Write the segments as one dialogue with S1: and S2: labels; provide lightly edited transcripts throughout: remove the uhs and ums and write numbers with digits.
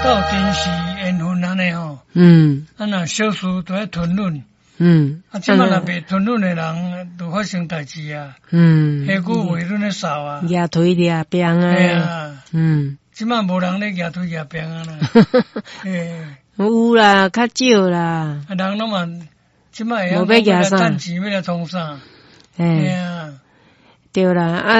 S1: 鬥陣是緣分按呢吼。啊，若小事就愛吞忍。啊，這擺若袂吞忍的人，就發生代誌啊。下久袂忍咧掃啊。
S2: 舉槌掠鞭啊。
S1: 嘿啊。這擺無人咧舉槌掠鞭啊啦。嘿。
S2: 有啦，較少啦。
S1: 啊，人攏嘛，這擺會曉講欲來趁錢，欲來創啥？
S2: 嘿啊。對啦，啊，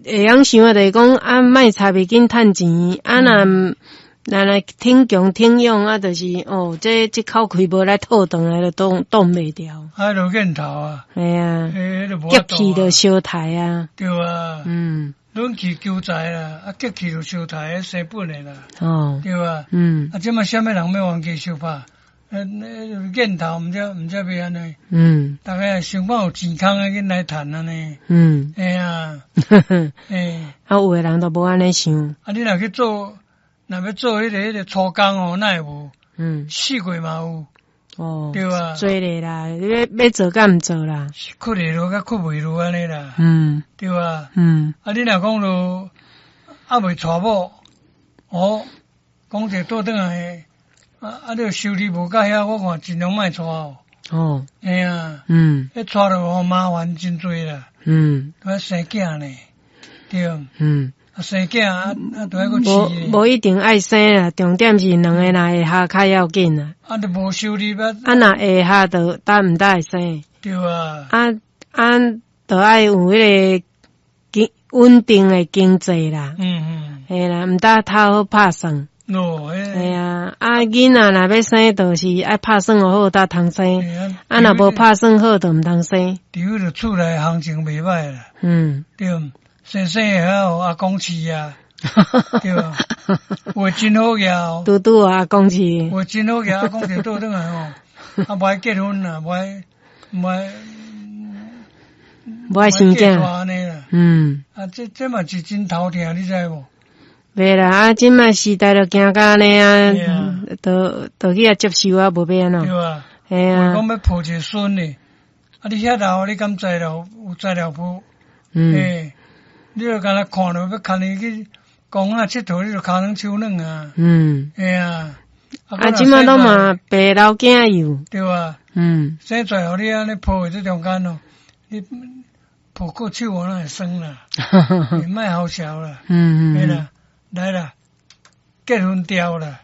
S2: 會曉想啊，就是講啊，莫插伊緊趁錢，啊若若來挺強挺勇啊，就是哦，這這口氣無來吐轉來，就擋擋袂牢。
S1: 啊，就癮頭啊。
S2: 嘿啊。激氣就相刣啊。
S1: 對啊。忍氣求財啦，啊，激氣就相刣，生本的啦。對啊。啊，這擺啥物人欲冤家相拍？癮頭毋知毋知欲按呢？逐家想講有錢空的緊來趁按呢。嘿啊。嘿。
S2: 啊，有的人都無按呢想。
S1: 啊，你若去做，若欲做彼個粗工哦，哪會無？4月嘛有。對啊。
S2: 做咧啦，你欲欲做敢毋做啦？
S1: 屈會落佮屈袂落按呢啦。對啊。啊，你若講著猶未娶某，哦，講者倒轉來，啊啊！你收入無夠遐，我看盡量莫娶哦。嘿啊。彼娶著吼麻煩真濟啦。愛生囝呢，對。啊，生囝啊啊，著愛閣飼。
S2: 無無一定愛生啦，重點是兩个若會合較要緊啦。
S1: 啊，著無收入啊。
S2: 啊，若會合就擔毋擔會生。
S1: 對啊。
S2: 啊啊，著愛有彼個經穩定的經濟啦。嘿啦，毋但頭好拍算。
S1: 哦，
S2: 嘿啊，啊，囡仔若欲生，就是愛拍算好才通生。啊，若無拍算好，就毋通生。
S1: 除非著厝內行情袂䆀啦。對，生生會曉予阿公飼啊。對啊。有的真好額哦。
S2: 拄拄予阿公飼。
S1: 有的真好額，阿公就倒轉來吼，啊，無愛結婚啦，無愛無愛
S2: 無愛生囝。
S1: 啊，這這嘛是真頭疼，你知無？
S2: 袂啦，啊，這擺時代就行到按呢啊，就就去遐接受啊，無欲按怎。
S1: 對啊。
S2: 嘿啊。
S1: 講欲抱一个孫呢，啊，你遐老，你敢材料有材料無？欸，你就干焦看著欲牽伊去公園𨑨迌，你就跤軟手軟啊。嘿啊。
S2: 啊，這擺攏嘛爸老囝幼。
S1: 對啊。生出來予你按呢抱佇這中間哦，你抱過手我哪會酸啦？你莫好笑啦。嘿啦，來啦，結婚掉啦。